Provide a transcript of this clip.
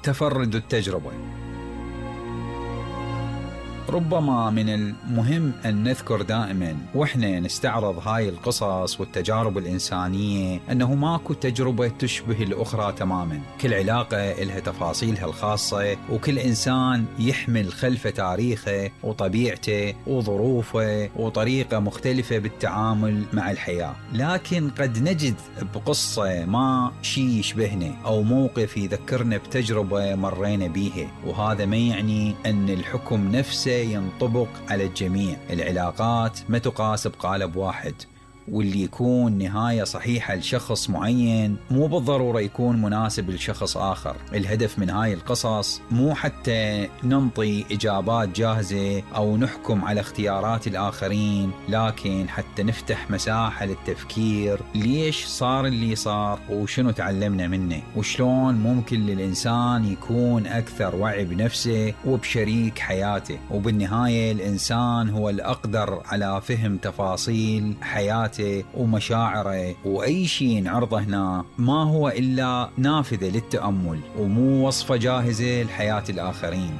تفرد التجربة. ربما من المهم أن نذكر دائما وإحنا نستعرض هاي القصص والتجارب الإنسانية أنه ماكو تجربة تشبه الأخرى تماما، كل علاقة إلها تفاصيلها الخاصة، وكل إنسان يحمل خلفه تاريخه وطبيعته وظروفه وطريقة مختلفة بالتعامل مع الحياة. لكن قد نجد بقصة ما شيء يشبهنا أو موقف يذكرنا بتجربة مرينا بيها، وهذا ما يعني أن الحكم نفسه ينطبق على الجميع. العلاقات ما تقاس بقالب واحد، واللي يكون نهاية صحيحة لشخص معين مو بالضرورة يكون مناسب لشخص آخر. الهدف من هاي القصص مو حتى ننطي إجابات جاهزة أو نحكم على اختيارات الآخرين، لكن حتى نفتح مساحة للتفكير ليش صار اللي صار وشنو تعلمنا منه، وشلون ممكن للإنسان يكون أكثر وعي بنفسه وبشريك حياته. وبالنهاية الإنسان هو الأقدر على فهم تفاصيل حياته ومشاعره، وأي شيء نعرضه هنا ما هو إلا نافذة للتأمل ومو وصفة جاهزة لحياة الآخرين.